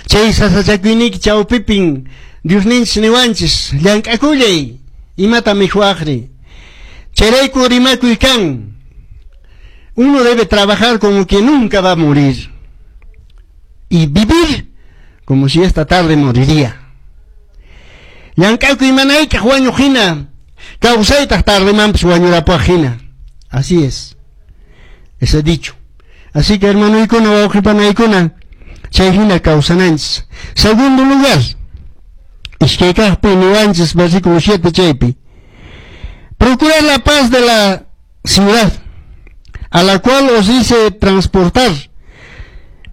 Chay sasachakuyniyki chawpipin Diosninchis niwanchis, llank'akullay, imata mikhuwaqri. Chayrayku rimakuy kan. Uno debe trabajar como que nunca va a morir y vivir como si esta tarde moriría. Llank'akuy mana hayk'aq wañuq hina, kawsaytaq tardemanpis wañurapuaq hina. Así es ese dicho. Así que, hermanoykuna, wawqipanaykuna, chay hina kawsananchis. Segundo lugar, iskay kaqpi niwanchis, versículo 7 chaypi. Procurar la paz de la ciudad a la cual os hice transportar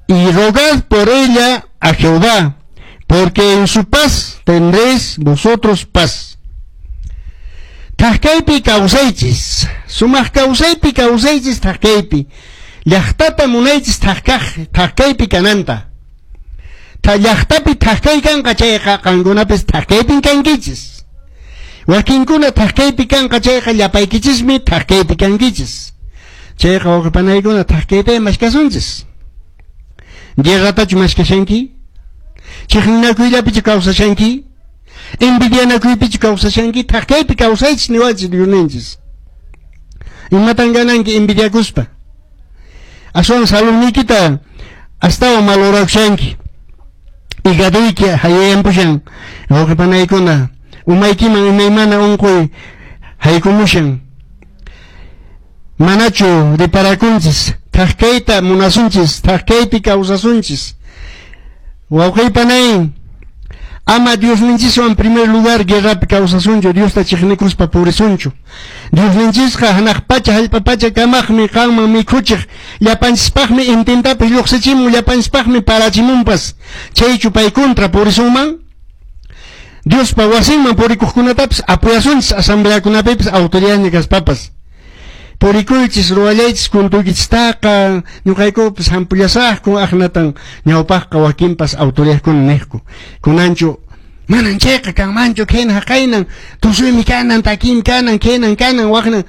y rogad por ella a Jehová, porque en su paz tendréis vosotros paz. Thak-kaypi kawsaychis, sumaq kawsaypi kawsaychis thak-kaypi. Llaqtata munaychis thak-kaq, thak-kaypi kananta. Ta llaqtapi thak-kay kanqa chayqa qankunapis thak-kaypin kankichis. Wakinkuna thak-kaypi kanqa chayqa llapaykichismi thak-kaypi kankichis. Chayqa, wawqipanaykuna, thak-kayta maskasunchis. Guerratachu maskashanki? Chiqninakuyllapichu kawsashanki? Envidianakuypichu kawsashanki? Thak-kaypi kawsaychis niwanchis Diosninchis. Imatan gananki envidiakuspa? Aswan saludniykita astawan malorakushanki. Higaduyki hayayanpushan, wawqipanaykuna, umaykiman imaymana unquy haykumushan. Manachu reparakunchis, thak-kayta munasunchis, thak-kaypi kawsasunchis. Wawqipanay, ama Diosninchiswan primer lugar guerrapi kawsasunchu, Diosta chiqnikuspa purisunchu. Diosninchisqa hanaq pacha hallp'a pacha kamaqmi, qanman mikhuchiq, llapanchispaqmi intintapis lluqsichimun, llapanchispaqmi parachimunpas. Chaychu pay contra purisunman? Diospa wasinman purikuqkunatapis apoyasunchis, asambleakunapipis autoridadña kaspapas. Purikuychis, ruwallaychis cultuykichistaqa, ñuqaykupis hampullasaqku, aqnatan ñawpaqqa wakinpas autoridadkuna niqku. Kunanchu manan chayqa kanmanchu, khayna haqaynan, tusuymi kanan, takiymi kanan, khaynan kanan, waqnan.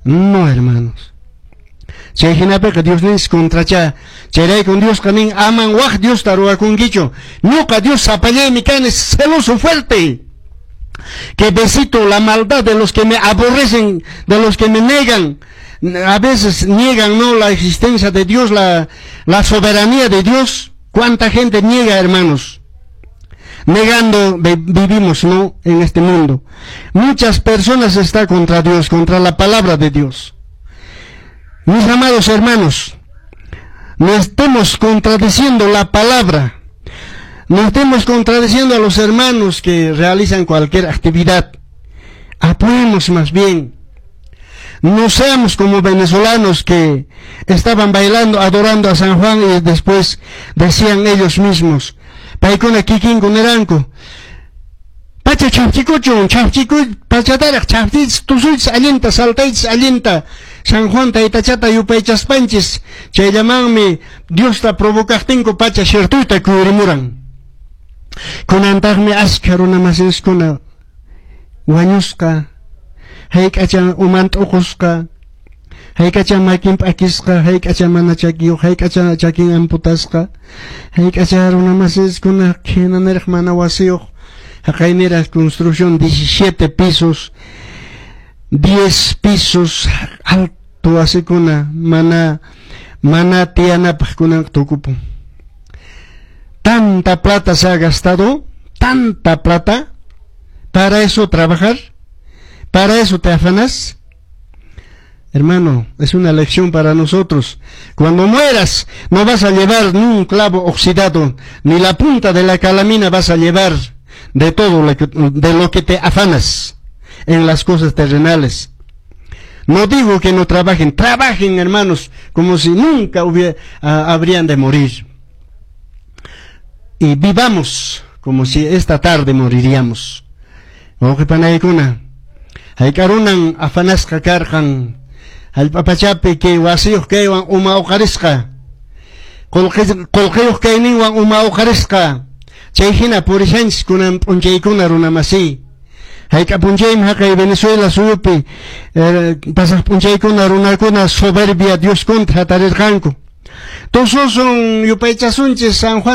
No, hermanos. Chay hinapiqa Diosninchis contracha. Chayraykun Diosqa nin, aman waq Diosta ruwakunkichu. Ñuqa Dios sapallaymi kani, celoso fuerte, que visito la maldad de los que me aborrecen, de los que me negan. A veces niegan, ¿no?, la existencia de Dios, la soberanía de Dios. ¿Cuánta gente niega, hermanos? Negando vivimos, ¿no?, en este mundo. Muchas personas están contra Dios, contra la palabra de Dios. Mis amados hermanos, no estemos contradiciendo la palabra. No estemos contradiciendo a los hermanos que realizan cualquier actividad. Apoyemos más bien. No seamos como venezolanos que estaban bailando, adorando a San Juan y después decían ellos mismos, paykuna kikinku niranku, pacha chhafchikuchun, chhafchiku, pachataraq chhafchiychis, tusuychis allinta, saltaychis allinta, San Juan taytachata yupaychaspanchis. Chayllamanmi Diosta provocaqtinku pacha shirtuyta kuyurimuran. Kunantaqmi askha runa masinskuna wañusqa, hayk'acha uman t'uqusqa, hayk'acha makin p'akisqa, hayk'acha mana chakiyuq, hayk'acha chakin amputasqa, hayk'acha runa masinskuna khina niraq mana wasiyuq, haqay niraq construcción 17 pisos, 10 pisos, alto wasikuna mana tiyanapaq kunan tukupun. Tanta plata se ha gastado, tanta plata, para eso trabajar, para eso te afanas. Hermano, es una lección para nosotros. Cuando mueras, no vas a llevar ni un clavo oxidado, ni la punta de la calamina vas a llevar de todo de lo que te afanas en las cosas terrenales. No digo que no trabajen, trabajen, hermanos, como si nunca habrían de morir. Y vivamos como si esta tarde moriríamos. Wawqipanaykuna, hayk'a runan afanasqa karqan hallp'a pachapi kay wasiyuq kaywan uma uqarisqa, qullqiyuq kayninwan uma uqarisqa. Chay hina purishanchis kunan p'unchaykuna, runa masiy. Hayk'a p'unchaymi haqay Venezuela suyupi pasaq p'unchaykuna runakuna soberbia Dios contra hatarirqanku. Tususun, yupaychasunchis San Juan.